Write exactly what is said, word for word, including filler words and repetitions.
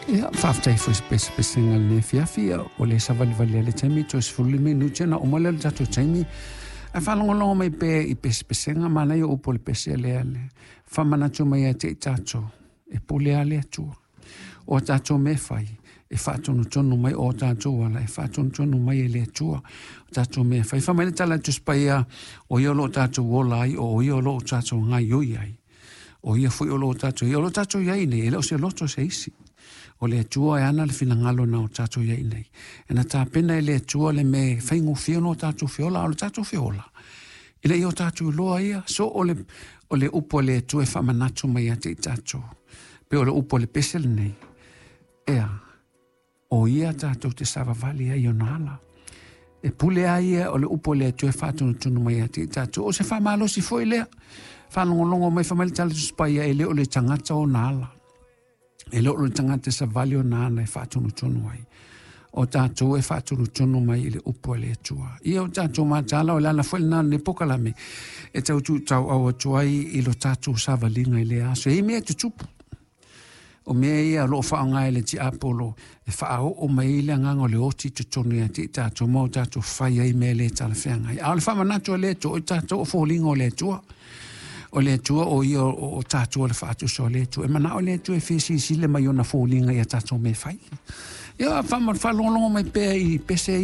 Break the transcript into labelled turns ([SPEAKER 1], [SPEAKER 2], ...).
[SPEAKER 1] Ia, faafetai foi i se pesepesega i lenei afiafi, ia ua le savalivali ai le taimi, toe sefulu lima minute ona uma lea o le tatou taimi. Ae faalogologo mai pea i pesepesega, manaia upu o le pese lea, le faamanatu mai ia te i tatou, e pule lava le Atua. O a tatou mea e fai, e faatonutonu mai o tatou ala, e faatonutonu mai e le Atua o tatou mea e fai. Fai mai le tala a le Tusi Paia, o ia o lo o tatou ola ai, o ia o lo o tatou gaioi ai. O ia foi o lo o tatou i ai. O lo o tatou i ai nei, e le o se loto o se isi. O le Atua e ana le finagalo na o tatou i ai nei. E na tapena e le Atua le mea e faigofie ona o tatou feola, a o le tatou feola, e le i o tatou iloa ia. So o le, o le upu a le Atua e faamanatu mai ia te i tatou. Pe o le upu a le pese lenei, ea, o ia tatou te savavali ai i ona ala. E pule a ia o le upu a le Atua e faatonutonu mai ia te i tatou. O se faamalosi foi lea. Faalogologo mai, fai mai le tala Tusi Paia, e le o le tagata ona ala. E le o le tagata savali ona ala e faatonutonu ai. O tatou e faatonutonu mai i le upu a le Atua. Ia o tatou mataala o le ala foi lena o lenei pokalame e tau tuutauau atu ai i lo tatou savaliga i lea aso. E i ai mea e tutupu. O mea ia o lo o faaaoga e le tiapolo e faaoo mai ai le agaga o le oti i totonu ia te i tatou ma o tatou fai ai mea le talafeagai. A o le faamanatu a le Atua, o i tatou o foliga o le Atua. O le Atua o ia o, o tatou o le faatusa o le Atua. E manao le Atua e fia silasila mai ona foliga ia tatou mea fai. Ia, faalogologo mai pea i pese